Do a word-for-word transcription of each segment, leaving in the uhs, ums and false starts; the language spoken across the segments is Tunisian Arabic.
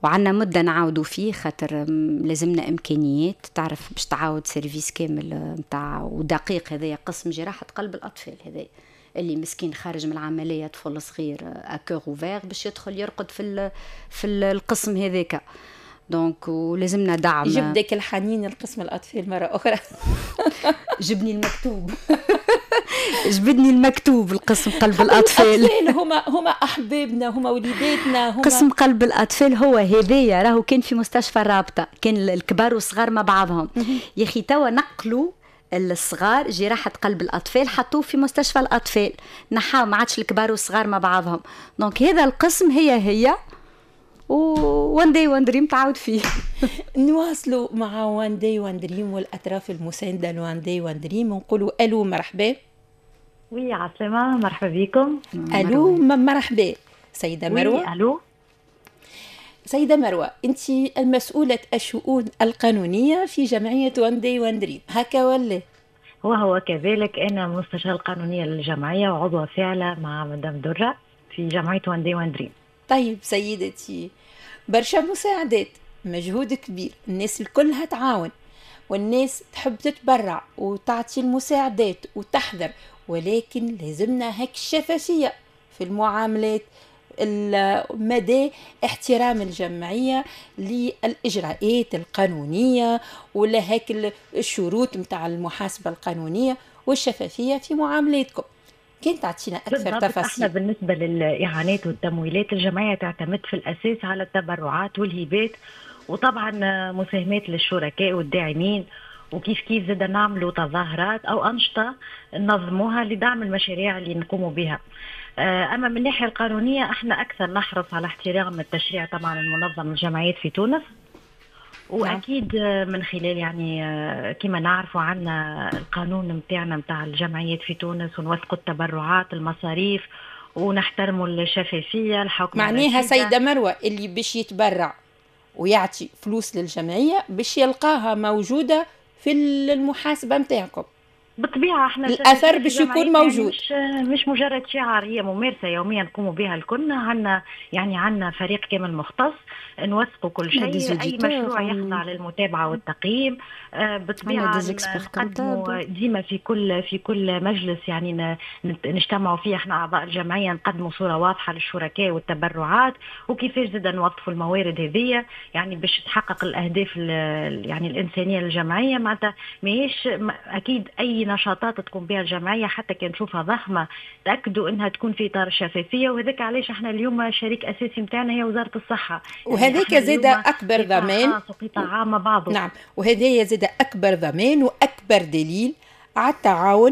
وعندنا مده نعاودوا فيه، خاطر لازمنا امكانيات، تعرف باش تعاود service كامل نتاع ودقيق. هذايا قسم جراحه قلب الاطفال، هذا اللي مسكين خارج من العمليه، طفل صغير à cœur ouvert، باش يدخل يرقد في في القسم هذاك، donc ولازمنا دعم. جبدك الحنين القسم الاطفال مرة اخرى. جبني المكتوب، جبدني المكتوب القسم قلب الاطفال. الاطفال هما هما احبابنا، هما وليداتنا، هما قسم قلب الاطفال هو هذايا، راهو كان في مستشفى الرابطه، كان الكبار والصغار مع بعضهم. يا اخي توا نقلوا الصغار، جراحة قلب الأطفال حطوه في مستشفى الأطفال، نحاو، ما عادش الكبار والصغار مع بعضهم. donc هذا القسم هي هي و One Day One Dream تعاود فيه. نواصلوا مع One Day One Dream والاطراف المساندة ل One Day One Dream، ونقولوا الو مرحبا. oui، عسلامة، مرحبا بكم. الو مرحبا سيدة مروة. الو. سيدة مروة، أنت المسؤولة الشؤون القانونية في جمعية One Day One Dream، هكا ولا؟ وهو كذلك، أنا مستشارة القانونية للجمعية وعضوة فاعلة مع مدام درة في جمعية One Day One Dream. طيب سيدتي، برشا مساعدات، مجهود كبير، الناس الكلها تعاون والناس تحب تتبرع وتعطي المساعدات وتحضر، ولكن لازمنا هيك الشفافية في المعاملات، مدى احترام الجمعية للإجراءات القانونية ولا هيك الشروط متاع المحاسبة القانونية والشفافية في معاملاتكم. كان تعطينا أكثر تفاصيل. احنا بالنسبة للإعانات والتمويلات، الجمعية تعتمد في الأساس على التبرعات والهبات، وطبعا مساهمات للشركاء والداعمين، وكيف كيف زاد نعملوا تظاهرات او انشطة ننظموها لدعم المشاريع اللي نقوم بها. آه، اما من الناحية القانونيه، احنا اكثر نحرص على احترام التشريع طبعا المنظم للجمعيات في تونس، واكيد من خلال يعني آه، كما نعرفوا عندنا القانون نتاعنا نتاع الجمعيات في تونس، ونوثقوا التبرعات، المصاريف، ونحترموا الشفافيه، الحكم. معناها سيده مروه، اللي باش يتبرع ويعطي فلوس للجمعية باش يلقاها موجودة في المحاسبة نتاعكم. بالطبيعة احنا الاثر باش يكون موجود. يعني مش مش مجرد شعار، هي ممارسة يوميا نقوم بها الكل. عندنا يعني عندنا فريق كامل مختص، نوثقوا كل شيء، اي مشروع يخضع للمتابعة والتقييم. آه، بالطبيعة نقدموا ديما في كل في كل مجلس يعني نجتمعوا فيه احنا اعضاء الجمعيه، نقدموا صوره واضحة للشركاء والتبرعات، وكيفاش زاد نوظفوا الموارد هذه يعني باش تحقق الاهداف يعني الانسانية للجمعيه. معناتها ماهيش اكيد اي نشاطات تقوم بها الجمعيه، حتى كان نشوفها ضخمه، تاكدوا انها تكون في اطار الشفافيه. وهذاك علاش احنا اليوم شريك اساسي نتاعنا هي وزارة الصحه. يعني وهذاك زاد اكبر ضمان. وقطاع عام بعضه. نعم، وهذا زاد اكبر ضمان واكبر دليل على التعاون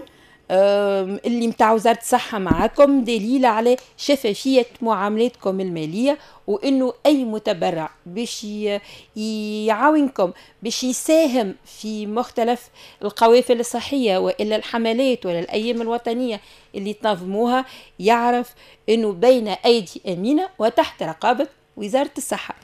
اللي متاع وزارة الصحة معاكم، دليل على شفافية معاملاتكم المالية، وانه اي متبرع باش يعاونكم، باش يساهم في مختلف القوافل الصحية والا الحملات ولا الايام الوطنية اللي تنظموها، يعرف انه بين ايدي امينة وتحت رقابة وزارة الصحة.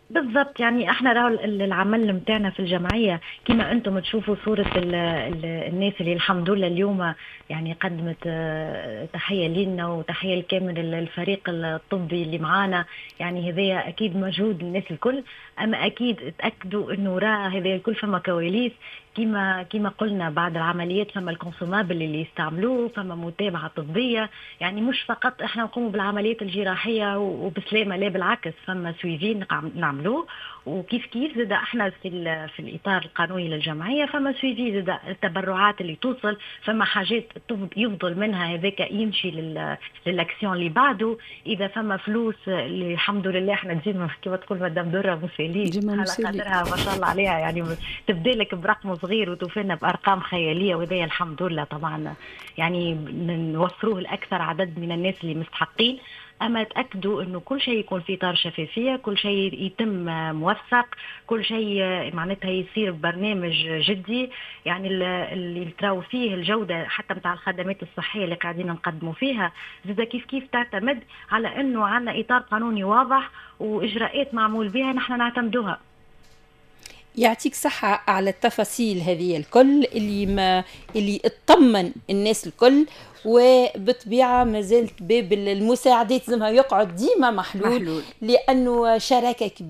بالضبط، يعني احنا راهو العمل نتاعنا في الجمعيه، كما انتم تشوفوا صوره ال ال الناس اللي الحمد لله اليوم يعني قدمت آه، تحية لنا وتحية لكامل الفريق الطبي اللي معانا. يعني هذايا اكيد مجهود الناس الكل، اما اكيد تاكدوا انه راه هذا الكل فما كواليس، كما كما قلنا بعد العمليات فما ال consommables اللي يستعملوه، فما متابعه طبيه. يعني مش فقط احنا نقوم بالعمليات الجراحية وبسلامه، لا بالعكس، فما suivi نعملوه. وكيف كيف زاد احنا في في الاطار القانوني للجمعية فما suivi زاد، التبرعات اللي توصل فما حاجات يفضل منها، هذاك يمشي للاكسيون اللي بعده. اذا فما فلوس اللي الحمد لله احنا ديما كما تقول مدام دره مسالين، على خاطرها ما شاء الله عليها، يعني تبدا لك برقم صغير وتوفينا بارقام خياليه، وهذا الحمد لله طبعا يعني نوفروه لاكثر عدد من الناس اللي مستحقين. اما تاكدوا انه كل شيء يكون في اطار شفافيه، كل شيء يتم موثق، كل شيء معناتها يصير ببرنامج جدي، يعني اللي تراو فيه الجودة حتى نتاع الخدمات الصحية اللي قاعدين نقدموا فيها زاد كيف كيف تعتمد على انه عندنا اطار قانوني واضح واجراءات معمول بها نحن نعتمدوها. يعطيك صحة على التفاصيل هذه الكل اللي ما اللي اطمن الناس الكل، وبطبيعة ما زالت باب المساعدات لازمها يقعد ديما محلول، محلول. لأنه شراكة كبيرة.